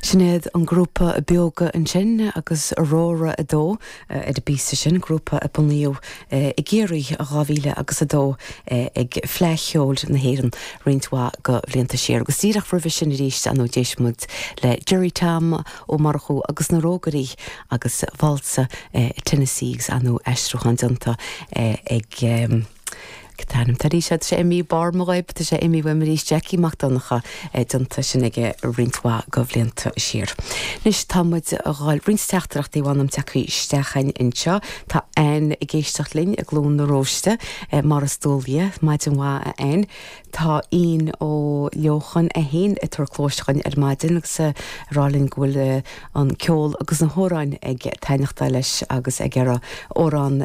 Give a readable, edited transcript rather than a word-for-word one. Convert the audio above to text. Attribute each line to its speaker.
Speaker 1: Sin iad an grúpa Beoga ansin agus Aurora 2 ar an bpíosa sin, grúpa a bunaíodh i gCiarraí i 2000 agus 2 ag Fleadh Cheoil na hÉireann roinnt mhaith de bhlianta siar. Agus díreach roimhe sin arís, ar ndóigh, d'éist muid le Gerry Tom Ó Murchú agus na Rógairí agus Válsa Tennessee agus ar ndóigh aistriúchán déanta ag. Cad tá ainm arís? Tá sé imithe barr mo ghoib, tá sé imithe uaim arís, Jackie Mac Donncha, déanta sin aige roinnt mhaith de bhlianta siar. Anois tá muid a dhul, roinnt teachtaireachtaí mh'anam tagtha isteach againn anseo. Tá Anne ag éisteacht linn i gCluain na Róiste, mar is dual di. Maidin mhaith a Anne. Tá Ian Ó Leocháin é féin ag tabhairt cluais dhuinn ar maidin agus ag rá linn go bhfuil an ceol agus na hamhráin ag taitneachtáil leis agus ag iarraidh amhrán.